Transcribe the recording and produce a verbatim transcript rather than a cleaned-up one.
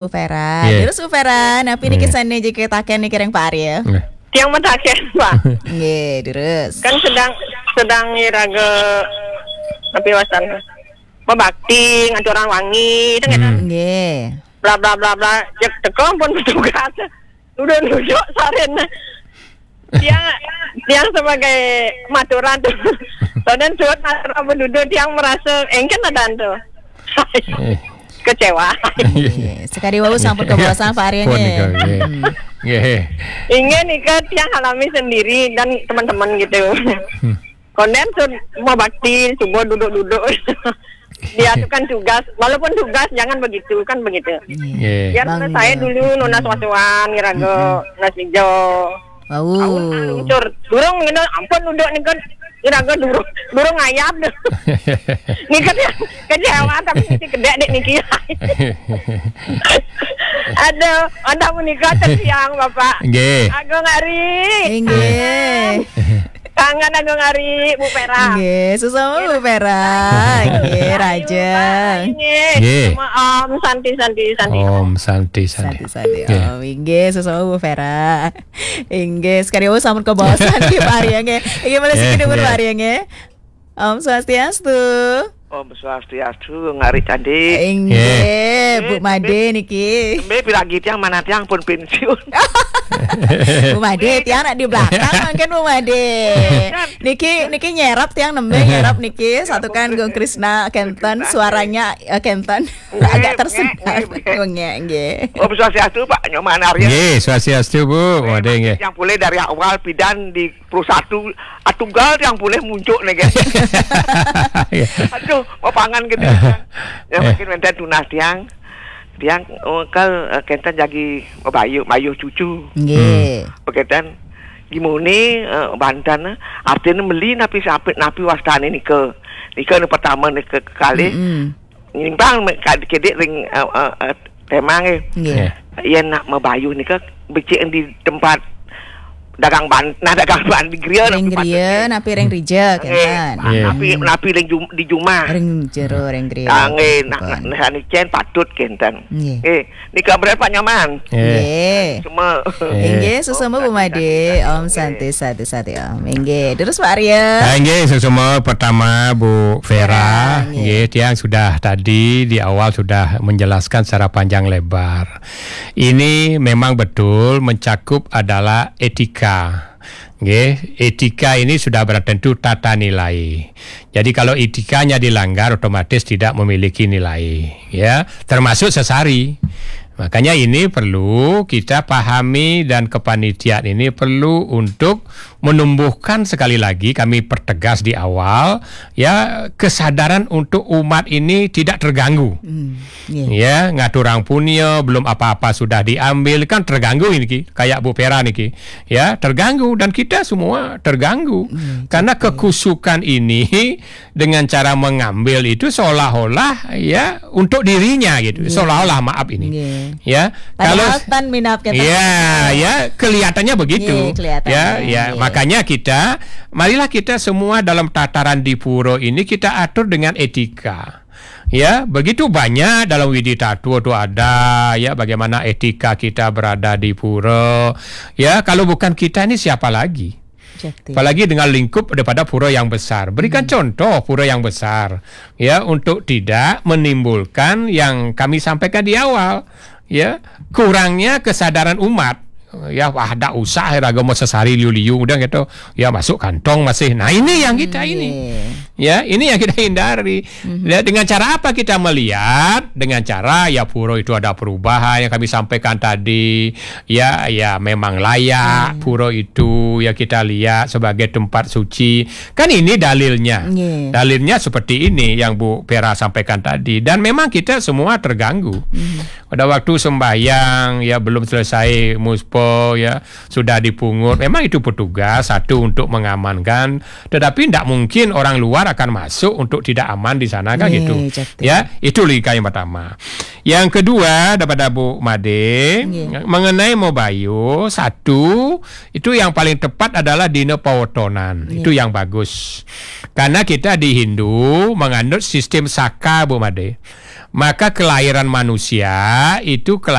Bu Vera. Nggih. Terus Bu Vera, napi niki, nggih, sane jagi taken niki ring Pak Arya? Nggih. Tiang mataken, Pak. Nggih, terus. Kan sedang, sedang iraga napi wastan? Mabakti, ngaturang wangi, itu nggih, hmm, nggih. Bla, bla, bla, bla. Cek teka pun petugas. Udah nunjuk sarin. Tiang, tiang sebagai maturan tu. Soalnya suat maturan penduduk, tiang merasa engken ada tu. Eh. Kecewa. Nggih. Sekali wau sampun kebawasan Pak Arya. Pun nggih. Nika, nggih. Hmm. Nggih. Inggih nika tiang alami sendiri dan teman-teman gitu. Hmm. Konden tu mabakti, subuh duduk-duduk. Diatukan tugas, walaupun tugas jangan begitu, kan begitu. Iya. Nggih. Biar saya dulu nunas wasuan, ngiraga nunas hijau. Wau. Aun, aun, cur. Durung ngene, ampun duduk nika, ngiraga durung, durung ngayab. Nika ya, kecewa tapi mesti kedek dek niki. Aduh, anda menikah teng tiang, Bapak. Nggih. Agung Ari. Inggih. Kangen. Kangen Agung Ari, Bu Vera. Nggih, sesama Bu Vera. Nggih, Raja. Nggih. Nggih. Sama Om Santi, Santi, Santi. Om Santi, Santi. Santi, Santi. Nggih. Om, inggih, sesama Bu Vera. Inggih, sekali wau sampun kebawasan nggih Pak Arya nggih. Inggih, malih siki, nggih, dumun, nggih, Pak Arya nggih. Om Swastiastu. Om Swastiastu, Ngari Candi. Inggih, nggih, Bu Made niki. Tembe piragi tiang, mana tiang pun pensiun. Bu Made, tiang nak di belakang mungkin Bu Made. Niki, niki nyerap tiang nembe nyerap niki, satukan Gung Krisna kenten, suaranya, eh, kenten. Agak tersendat. Nggih, nggih, nggih. Nggih, nggih. Om Swastiastu, Pak Nyoman Arya. Nggih, Swastiastu, Bu. Made nggih. Yang pulih dari awal pidan di Pro Satu, ah, tunggal tiang pulih muncuk niki. Iya. Aduh, mapangan gede. Ya, eh, mungkin wenten tunas tiang. Tiang, oh, kal, eh, kenten jagi mabayuh, mayuh cucu. Nggih. Hmm. Bekenten gimone, eh, banten, eh, artine meli napi sampe, napi wastane nika. Nika anu pertama, nika kekalih. Mm-mm. Nyimpang me-, ka-, kedik ring, eh, eh, eh, tema nggih. Nggih. Nggih. Yen nak mabayuh nika becik di tempat dagang ban-, nah, dagang ban di griya. Ring napi griya, patut, nggih, napi ring rija, nggih, kenten. Nggih. Napi, hmm, napi ring jum-, di jumah. Ring jero, ring griya. Ah, nggih, nak, pun, nak, nak sane cen patut kenten. Nggih. Nggih, nika berat Pak Nyoman. Nggih. Nggih. Semua. Nggih. Nggih, sesama Bu Made. Om Santi, Santi, Santi, Om. Nggih. Terus Pak Arya. Ah, nggih, sesama pertama Bu Vera. Vera, nggih. Nggih, tiang sudah tadi di awal sudah menjelaskan secara panjang lebar. Ini memang betul mencakup adalah etika. Nggih, etika ini sudah berarti tentu tata nilai. Jadi kalau etikanya dilanggar, otomatis tidak memiliki nilai, ya, termasuk sesari. Makanya ini perlu kita pahami dan kepanitiaan ini perlu untuk menumbuhkan, sekali lagi kami pertegas di awal, ya, kesadaran untuk umat ini tidak terganggu. Hmm, iya. Ya, ngaturang punya, belum apa-apa sudah diambil, kan terganggu ini, Ki. Kayak Bu Vera niki, ya, terganggu dan kita semua terganggu. Hmm, karena betul. Kekusukan ini dengan cara mengambil itu seolah-olah, ya, untuk dirinya gitu. Iya. Seolah-olah, maaf ini. Iya. Ya, padahal kalau tan minap kita. Ya, ya, kelihatannya begitu. Iya, kelihatannya, ya, ya, iya. Makanya kita, marilah kita semua dalam tataran di pura ini kita atur dengan etika. Ya, begitu banyak dalam Widi Tatwa tu ada, ya, bagaimana etika kita berada di pura. Ya, kalau bukan kita ini siapa lagi? Jati. Apalagi dengan lingkup daripada pura yang besar. Berikan, hmm, contoh pura yang besar, ya, untuk tidak menimbulkan yang kami sampaikan di awal, ya, kurangnya kesadaran umat. Ya, wah, dak usah ya, agama sesari liu-liu, udah gitu. Ya, masuk kantong masih. Nah, ini yang kita ini. Hmm, iya. Ya, ini yang kita hindari. Mhm. Ya, dengan cara apa kita melihat? Dengan cara, ya, pura itu ada perubahan yang kami sampaikan tadi. Ya, ya, memang layak, hmm, pura itu, ya, kita lihat sebagai tempat suci. Kan ini dalilnya. Nggih. Dalilnya seperti ini yang Bu Vera sampaikan tadi. Dan memang kita semua terganggu. Mhm. Pada waktu sembahyang, ya, belum selesai muspa, ya, sudah dipungut. Memang itu petugas satu untuk mengamankan, tetapi ndak mungkin orang luar akan masuk untuk tidak aman di sana, kan, nggih, gitu. Jati. Ya, itu logika yang pertama. Yang kedua, daripada Bu Made, nggih, mengenai mabayuh, satu, itu yang paling tepat adalah dina pawetonan. Nggih. Itu yang bagus. Karena kita di Hindu menganut sistem saka, Bu Made. Maka kelahiran manusia itu